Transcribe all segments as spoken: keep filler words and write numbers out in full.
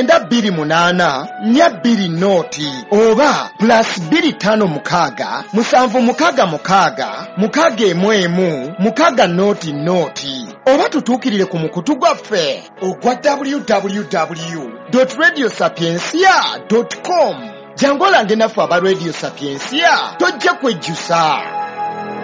Mwenda bbiri munaana nnya bbiri nooti oba plus bbiri ttaano mukaaga musanvu mukaaga mukaaga mukaaga emu emu mukaaga nooti nooti, oba tutuukirire ku mukutu gwaffe ogwa W W W radio sapientia com. Jangu olange naffe aba Radio Sapientia, tojja kwejjusa.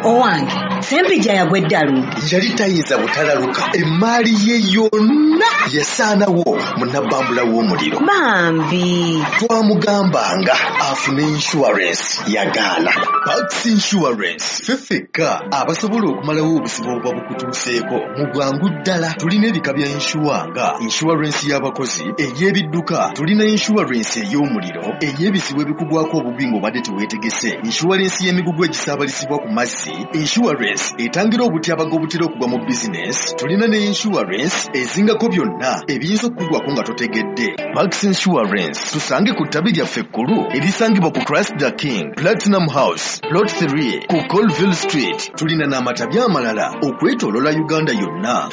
Owange Sempijja yagwa eddalu. Yali tayinza butalaluka, emaali ye yonna yasaanawo mu nabbambula w'omuliro. Bambi. Twamugambanga afune insurance, yagaana. Pax Insurance, ffe ffekka abasobola okumalawo obuzibu obuba bukutuuseeko mu bwangu ddala. Tulina ebika bya insure nga insurance y'abakozi, ey'ebidduka, tulina insurance ey'omuliro, ey'ebizibu ebikugwako obubi ng'obadde teweetegese, insurance y'emigugu egisaabalizibwa ku mazzi, insurance etangira obutyabaga obutera okugwa mu bizinesi. Tulina ne insurance ezingako byonna ebiyinza okukugwako nga totegedde. Pax Insurance, tusange ku ttabi lyaffe ekkulu erisangibwa ku Christ the King Platinum House, Plot three, ku Colville Street. Tulina n'amatabi amalala okwetoolola Uganda yonna.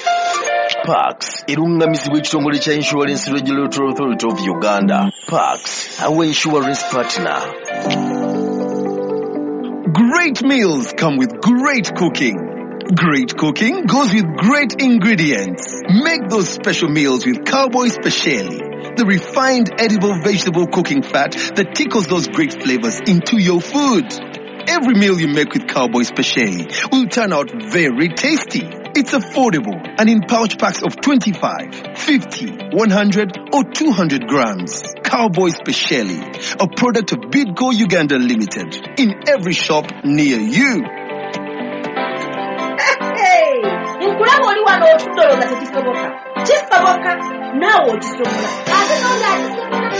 Pax eruŋŋamizibwa ekitongole kya Insurance Regulatory Authority of Uganda. Pax, our insurance partner. Great meals come with great cooking. Great cooking goes with great ingredients. Make those special meals with Cowboy Speciale, the refined edible vegetable cooking fat that tickles those great flavors into your food. Every meal you make with Cowboy Speciale will turn out very tasty. It's affordable and in pouch packs of twenty-five, fifty, one hundred or two hundred grams. Cowboy Speciale, a product of Bidco Uganda Limited, in every shop near you. Nkulaba oli wano otudde olowooza tekisoboka. Kisoboka, naawe okisobola, ate nonga akisobola.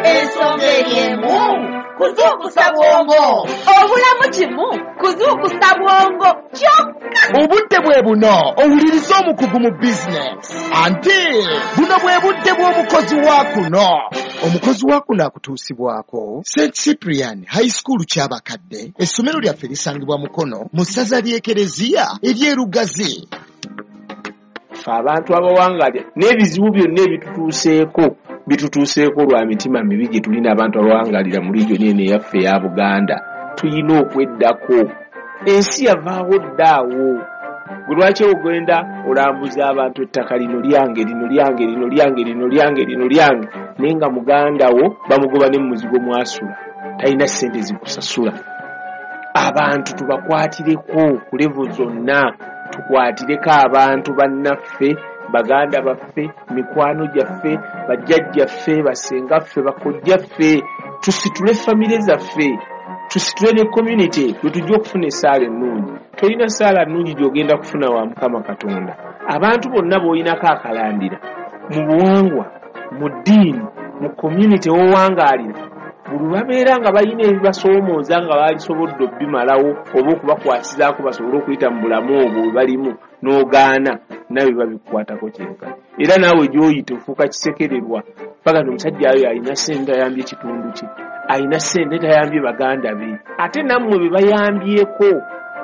Ensonga eri emu, kuzuukusa bwongo. Obulamu kimu kuzuukusa bwongo kyokka. Obudde bwe buno owuliriza omukugu mu bizinesi, anti buno bwe budde bw'omukozi wa kuno. Omukozi wa kuno akutuusibwako Saint Cyprian High School Kyabakadde. Essomero lyaffe lisangibwa Mukono mu ssaza ly'Ekereziya ery'Erugazi. Ffe abantu abawangalya n'ebizibu byonna ebitutuuseeko, bitutuuseeko lwa mitima mibi gye tulina. Abantu abawangalira mu region eno eyaffe eya Buganda, tuyina okweddako. Ensi yavaawo ddaawo. Gwe lwaki ogenda olambuza abantu ettaka lino lyange, lino lyange, lino lyange, lino lyange, lino lyange, naye nga muganda wo bamugoba ne mumuzigo mwasula, talina ssente zikusasula? Abantu tubakwatireko ku level zonna, tukwatireko abantu bannaffe, baganda baffe, mikwano gyaffe, bajjajjaffe, basengaffe, bakojjaffe. Tusitule famire zaffe, tusitule ne community, lwe tujja okufuna essaala ennungi. Tolina ssaala nnungi gy'ogenda kufuna wa Mukama Katonda. Abantu bonna b'oyinako akalandira mu buwangwa, mu ddiini, mu community w'owangaalira, buli babeera nga balina ebibasoomooza nga baalisobodde obbimalawo oba okubakwasizaako basobole okuyita mu bulamu obwo bwe balimu, n'ogaana, nawe babikukwatako kyenkana. Era naawe gy'oyita ofuuka kisekererwa paka nti omusajja ayo alina ssente, ayambye ekitundu kye, alina ssente, tayambye baganda be. Ate nammwe be bayambyeko,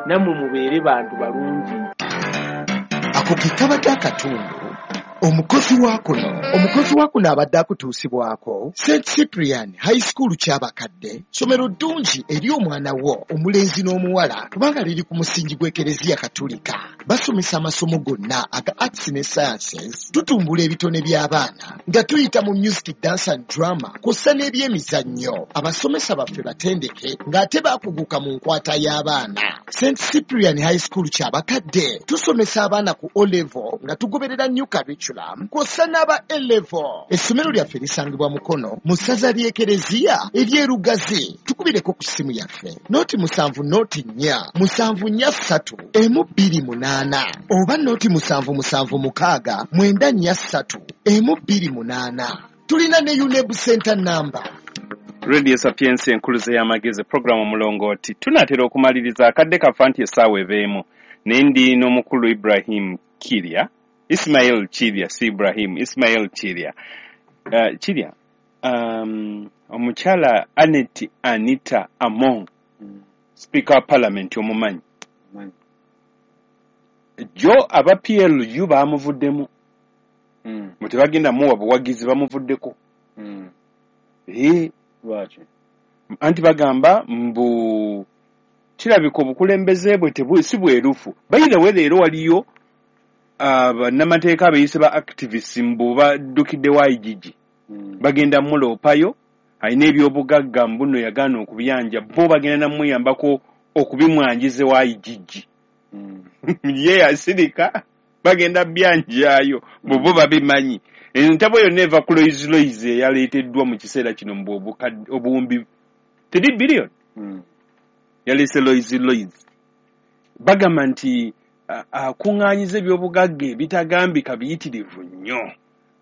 nammwe mubeere bantu balungi. Ako ke kabadde akatundu omukozi wa kuno. Omukozi wa kuno abadde akutuusibwako Saint Cyprian High School Kyabakadde. Ssomero ddungi eri omwana wo omulenzi n'omuwala kubanga liri ku musingi gw'Ekereziya Katulika. Basomesa amasomo gonna aga arts ne sciences. Tutumbula ebitone by'abaana nga tuyita mu music, dance and drama, kw'ossa n'ebyemizannyo. Abasomesa baffe batendeke ng'ate baakuguka mu nkwata y'abaana. Saint Cyprian High School Kyabakadde tusomesa abaana ku O level nga tugoberera new curriculum, kw'ossa n'aba A level. Essomero lyaffe lisangibwa Mukono mu ssaza ly'Ekereziya ery'Erugazi. Tukubireko ku ssimu yaffe noti musanvu noti nnya musanvu nnya ssatu emu bbiri munaana oba noti musanvu musanvu mukaaga mwenda nnya ssatu emu bbiri munaana. Tulina ne UNEB center number. Radio Sapientia, enkuluze y'amagezi, programu Omulongooti. Tunaatera okumaliriza, akadde kafa nti essaawa ebeemu, naye ndi n'omukulu Ibrahim Kirya, Ismail Kirya, si Ibrahim, Ismail Kirya. uh, kirya um, omukyala Anet Anita Among, Speaker wa Parliament, omumanyi? Jo aba P L U bamuvuddemu. Mm. Mbu tebagenda muwa buwagizi, bamuvuddeko. Mm. Eh, Lwaki? Anti bagamba mbu kirabika obukulembeze bwe tebu- si bwerufu. By the way, leero waliyo bannamateeka abeeyise ba activists mbu baddukidde wa I G G. Mm. Bagenda muloopayo, alina ebyobugagga mbu nno yagaana okubyanja, bo bagenda namuyambako okubimwanjiza wa I G G. Mm. Ye yasirika, bagenda byanjayo bwe bo babimanyi. Entabo yonna eva ku Rolls Royce eyaleeteddwa mu kiseera kino mbu obukadde- obuwumbi teri biliyoni. Mm. Yaleese Rolls Royce, bagamba nti a- akuŋŋaanyiza ebyobugagga ebitagambika biyitirivu nnyo.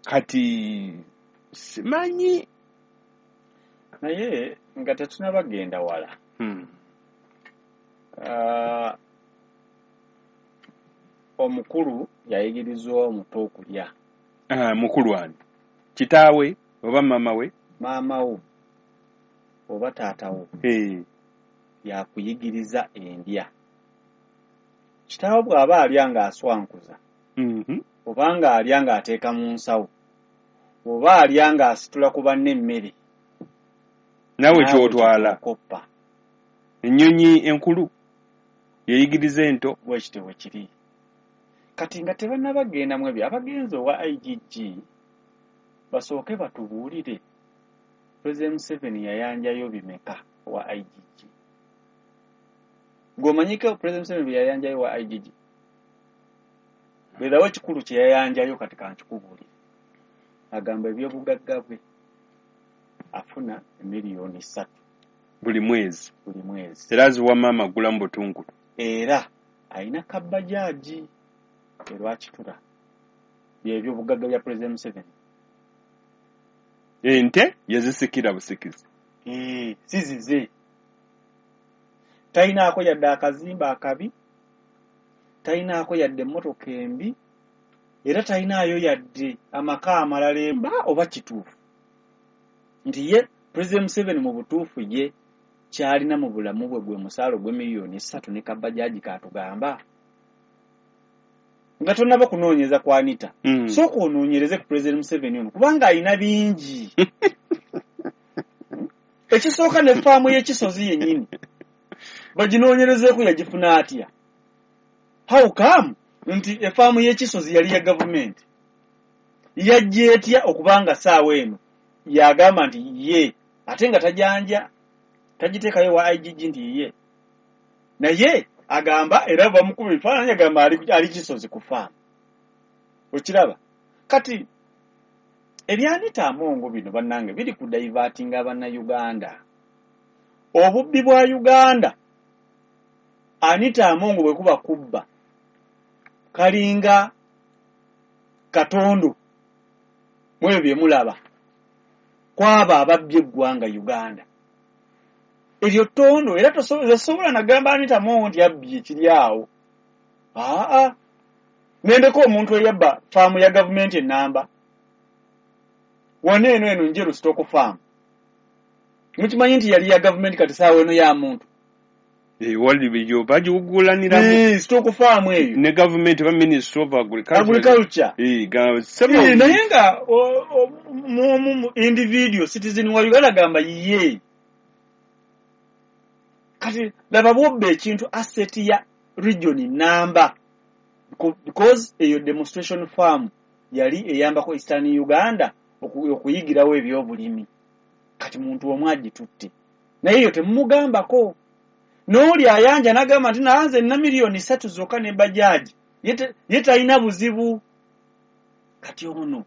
Kati simanyi. Naye nga tetunabagenda wala, Hmm. Ah, omukulu yayigirizwa omuto okulya. Ah, mukulu ani? Kitaawe oba maama we? Maama wo oba taata wo Eh, yakuyigiriza endya. Kitaawo bw'aba alya ng'aswankuza, mhm. oba ng'alya ng'ateeka mu nsawo, oba alya ng'asitula ku banne emmere, naawe naawe kyotwala. Ky'okoppa. Ennyonyi enkulu yeyigiriza ento. Bwekityo bwe kiri. Kati nga tebannabagenda mu ebyo, abagenzi owa I G G basooke batubuulire President Museveni yayanjayo bimeka owa I G G. Gw'omanyiko President Museveni bye yayanjayo owa I G G? Beerawo ekikulu kye yayanjayo. Kati kankikubuulire, agamba ebyobugagga bwe afuna emiliyoni ssatu buli mwezi. Buli mwezi. Era aziwa maama agula mu butungulu. Era alina kabajaaji erwakitula. Byebyobugagga bya President Museveni. Ente yazisikira busikizi. Eh, si zize. Talinaako yadde akazimba akabi, talinaako yadde emmotoka embi, era talinaayo yadde amaka amalala emba. Oba kituufu nti ye President Museveni mu butuufu ye kyalina mu bulamu bwe gwe musaala ogw'emiliyoni essatu ne kabajaaji katugamba? Nga tonnaba kunoonyeza ku Anita, Mm. sooka onoonyereze ku President Museveni ono, kubanga alina bingi. Ekisooka, ne faamu y'ekisozi yennyini baginoonyerezeeko, yagifuna atya? How come nti efaamu y'ekisozi yali ya gavumenti, yajja etya okubanga saawa eno yagamba nti ye, ate nga tajanja tagiteekayo wa I G G nti ye? Naye agamba, era bamukuba ebifaananyi, agamba ali, ali Kisozi ku faamu. Okiraba kati ebya Anita Amongo bino, bannange, biri ku divertinga Bannayuganda. Obubbi bwa Uganda, Anita Amongo bwe kuba kubba, kalinga katondo mu ebyo bye mulaba kwabo ababbye eggwanga Uganda. Eryo ttondo, era tosobola nagamba Anita Amongo nti yabbye. Kiri awo aa nendeko omuntu eyabba faamu ya gavumenti enamba wano eno eno Njeru Stock Farm. Mukimanyi nti yali ya gavumenti, kati saawa eno ya muntu. Wali bagiwugulaniramu. Eh, stock farm eyo. Ne gavumenti ba Ministry of Agriculture. Agriculture. Eh, ga- several- Eh, naye nga o- o- mu- mu individual citizen wa Uganda gamba ye. Kati laba bwobba ekintu, asset ya region namba, because eyo demonstration farm yali eyambako Eastern Uganda oku- okuyigirawo ebyobulimi. Kati muntu omu agitutte, naye eyo temumugambako. N'oli ayanja n'agamba nti nanze nina miliyoni ssatu zokka ne bajaji, ye te- ye talina buzibu. Kati ono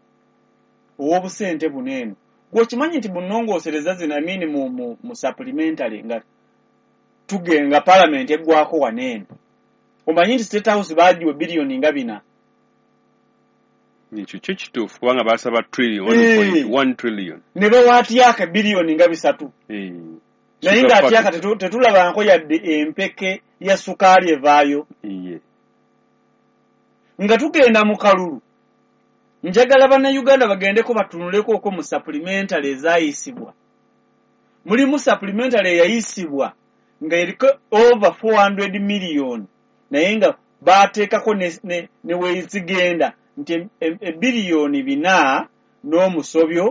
ow'obusente buno eno, gweokimanyi nti bunongoosereza zino amini mu, mu, mu supplementary nga tugenga parliament eggwako wano eno, omanyi nti State House baagiwe biliyoni nga bina? Ekyo kyo kituufu, kubanga basaba trillion, Eh. one trillion. Ne bawa Atyaka biliyoni nga bisatu. Eh. Naye Sugar nga Atyaka factory. tetu- tetulabanko yadde empeke ya sukaali evaayo. Iye. Nga tugenda mu kalulu, njagala Bannayuganda bagendeko batunuleko okwo mu supplementary ezaayisibwa. Mulimu supplementary eyayisibwa nga eriko over four hundred million, naye nga baateekako ne, ne, ne wezigenda. nti ebbiliyoni bina n'omusobyo